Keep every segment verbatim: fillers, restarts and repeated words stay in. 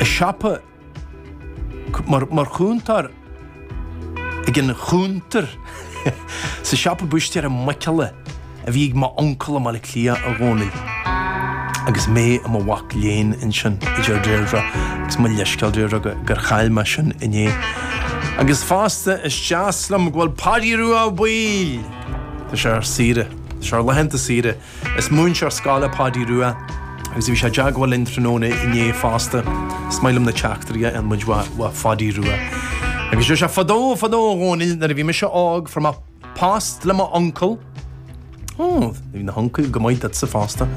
siopa mar, mar chúntóir ag an chuntar sa siopa búistéara muiceola a bhí ag m'uncail i mBaile Átha Cliath, a Dhónaill. Agus mé i mo mhac léinn ansin, a deir Deirdre, agus mo leithscéal Deirdre gur chaill mé sin inné. Agus fosta is deas liom go bhfuil Páidí Rua Ó Baoill! Tá sé ar saoire. Tá sé ar laethanta saoire. Is múinteoir scoile Páidí Rua agus bhí sé i dteagmháil linn tráthnóna inné fosta. Is maith liom na teachtairí a fhaigheann muid ó Pháidí Rua. Agus deir sé fadó fadó a Dhónaill nuair a bhí mise óg fuair mé post le m'uncail. Ó, bhí na huncail go maith duitse fosta.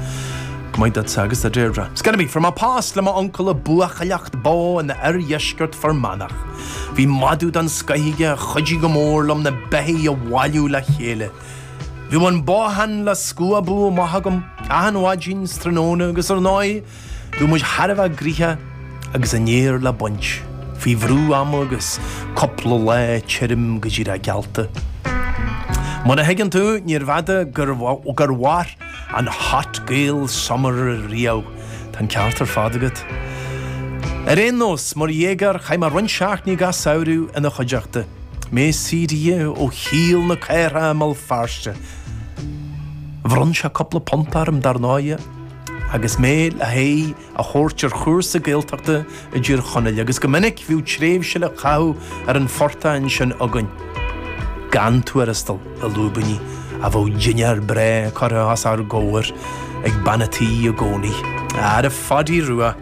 Go maith duitse agus do Deirdre. Scannaí, fuair mé post le m'uncail ag buachailleacht bó in oirdheisceart Fear Manach. Bhí madadh den scoith aige a chuidigh go mór liom na beithígh a bhailiú le chéile. Bhí an bothán le scuabadh amach agam achan mhaidin 's tráthnóna agus ar ndóigh bhí muid thar a bheith gnoitheach agus an fhéar le baint, faoi bhrú ama agus cúpla lá tirim go díreach geallta. Mar a thuigeann tú, níorbh fhada gur gur mhair an Hot Gael Summer riamh. Tá an ceart ar fad agat. Ar aon nós, mar dhéagóir chaith mé roinnt seachtainí gach samhradh ina chuideachta. Mé saothraithe ó shaol na cathrach i mBéal Feirste. Bhronn sé cúpla punt orm dar ndóigh agus mé le haghaidh a thabhairt ar chúrsa Gaeltachta i dTír Chonaill agus go minic bhíodh tréimhse le caitheamh ar an phortach ansin againn. Gan tuarastal i lúibíní a bheadh dinnéar breá curtha os ár gcomhair ag bean a' tí i gcónaí. Ara Pháidí Rua.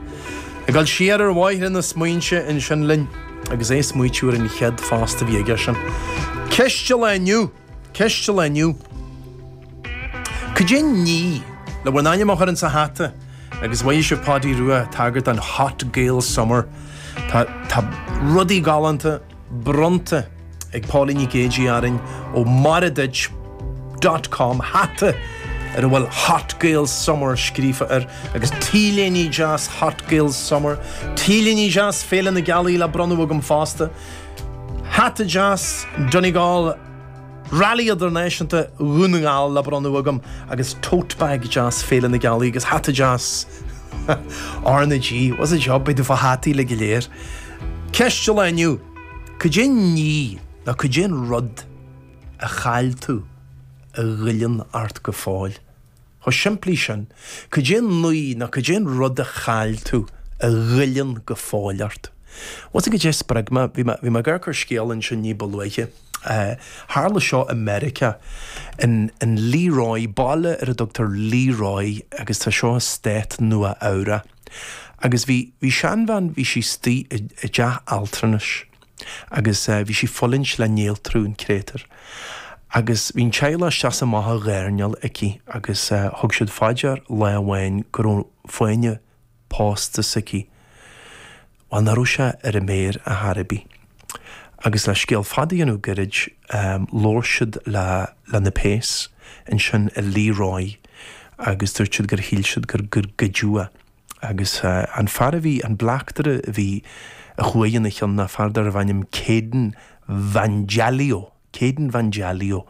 Ag dul siar ar bhóithre na smaointe ansin linn agus é ag smaoitiú ar an chéad phost a bhí aige sin. Ceist an lae inniu! Ceist an lae inniu! Cad é an ní le bhur n-ainm a chur insa hata agus mhaígh sibh Páidí Rua tagairt don Hot Gael Summer. Tá tá rudaí galánta bronnta ag Pauline Nic Géidigh orainn ó Maire Duit dot com hata ar a bhfuil Hot Gael Summer scríofa air agus T-léine deas Hot Gael Summer, T-léine deas Féile na Gealaí le bronnadh agam fosta, hata deas Donegal Rally Idirnáisiúnta Dhún na nGall le bronnadh agam agus tote bag deas Féile na Gealaí agus hata deas R na G. What's the job beidh tú fá hataí le go léir. Ceist an lae inniu, Cad é an ní nó cad é an rud a chaill tú a ghoilleann ort go fóill? Chomh simplí sin, cad é an ní nó cad é an rud a chaill tú a ghoilleann go fóill ort? Bhfuil fhios agat cad é spreag mé, bhí mé, bhí mé ag amharc ar scéal ansin ní ba luaithe. Tharla seo i Meiriceá, in, in Leroy, baile ar a dtugtar Leroy agus tá seo i stát Nua Eabhrac. Agus bhí, bhí seanbhean, bhí sí istigh i, i dteach altranais agus bhí sí ag fulaingt le néaltrú, an créatúr. Agus bhí an teaghlach isteach is amach á dhoirneáil aici agus thug siad fá dear lá amháin go raibh fáinne pósta s'aici. Bhuel, nach raibh sé ar a méar ar chor ar bith. Agus le scéal fada a dhéanamh gairid, labhair siad le le na péas ansin i Leroy agus dúirt siad gur shíl siad gur gur goideadh é. Agus an fear a bhí, an bleachtaire a bhí, a chuaigh ina chionn ná fear darbh ainm Kayden Vangelio, Kayden Vangelio.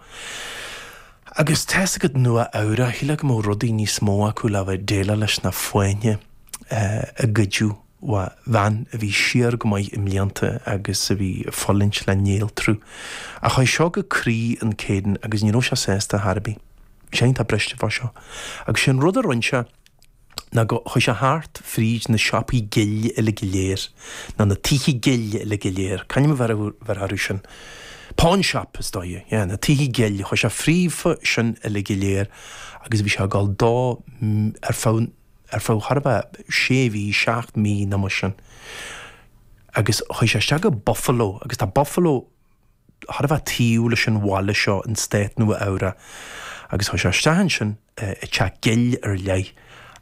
Agus tá's agat Nua Eabhrac, shílfeá go mbeadh rudaí níos mó acu le bheith déileáil leis ná fáinne a goideadh ó bhean a bhí siar go maith i mblianta agus a bhí ag fulaingt le néaltrú. Ach chuaigh seo go croí an Kayden agus ní raibh sé sásta ar chor ar bith. Bhí sé iontach briste fá seo. Agus sé an rud a rinne sé ná go chuaigh sé thart fríd na siopaí gill uilig go léir, nó na tithe gill uilig go léir, c'ainm a bheir orthu sin? Pawn shop, is dóigh, yeah, na tithe gill, chuaigh sé fríofa sin uilig go léir agus bhí sé ag dul dó ar feadh, ar feadh chóir a bheith sé mhí, seacht mí nó mar sin. Agus chuaigh sé isteach go Buffalo agus tá Buffalo chóir a bheith taobh leis an bhaile seo in stát Nua Eabhrac agus chuaigh sé isteach ansin i teach gill ar leith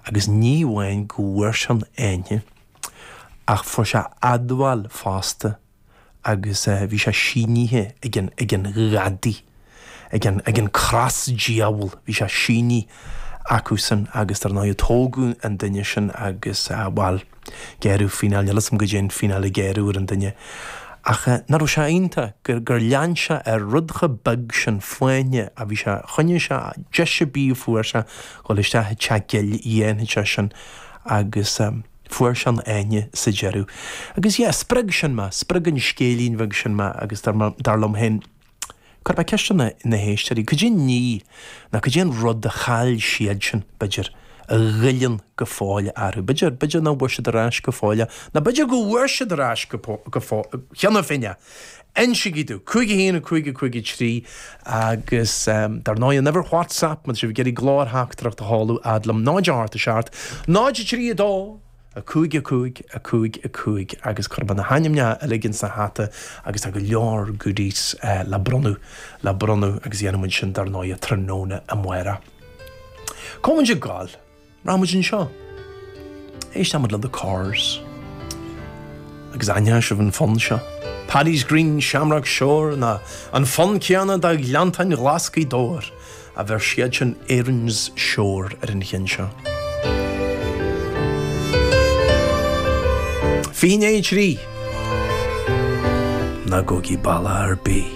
agus ní amháin go bhfuair sé an fháinne ach fuair sé admháil fosta agus bhí sé sínithe ag an ag an ghadaí, ag an ag an cros diabhal, bhí sé sínithe acusan agus dar ndóigh tógadh an duine sin agus bhuel, gearradh fíneáil, níl 'fhios a'm goidé an fíneáil a gearradh ar an duine. Ach nach raibh sé iontach gur gur lean sé ar rud chomh beag sin fáinne a bhí sé, choinnigh sé deis ar bith a fuair sé dhul isteach i dteach gill dhéanfadh sé sin agus Fuair sé an fháinne sa deireadh. Agus yeah, spreag sin mé, spreag an scéilín bheag sin mé agus dar liom féin, cuirfidh mé ceist ar na héisteoirí, cad é an ní, nó cad é an rud a chaill siadsan, b'fhéidir, a ghoilleann go fóill orthu. B'fhéidir, b'fhéidir nach bhfuair siad ar ais go fóill é, nó b'fhéidir go bhfuair siad ar ais go, go fóill, cheana féin é. Insígí domh, cúig a haon, cúig a cúig a trí, agus dar ndóigh an uimhir WhatsApp má tá sibh ag iarraidh glórtheachtaireacht a sheoladh fhad liom, náid a hocht a seacht, náid a trí a dó, a cúig a cúig, a cúig a cúig, agus cuirfidh mé na hainmneacha uilig insa hata agus tá go leor goodies le bronnadh, le bronnadh agus dhéanfaidh muid sin dar ndóigh tráthnóna amárach. Cá bhfuil muid ag gabháil? Rachaidh muid anseo. Éistfidh muid le The Corrs. Agus aithneoidh sibh an fonn seo. Paddy's Green, Shamrock Shore nó an fonn céanna do Ghleanntáin Ghlas Ghaoth Dobhair a bheir siadsan Erin's Shore ar an cheann seo. Fiche i ndiaidh a trí. Ná gabhaigí bealach ar bith.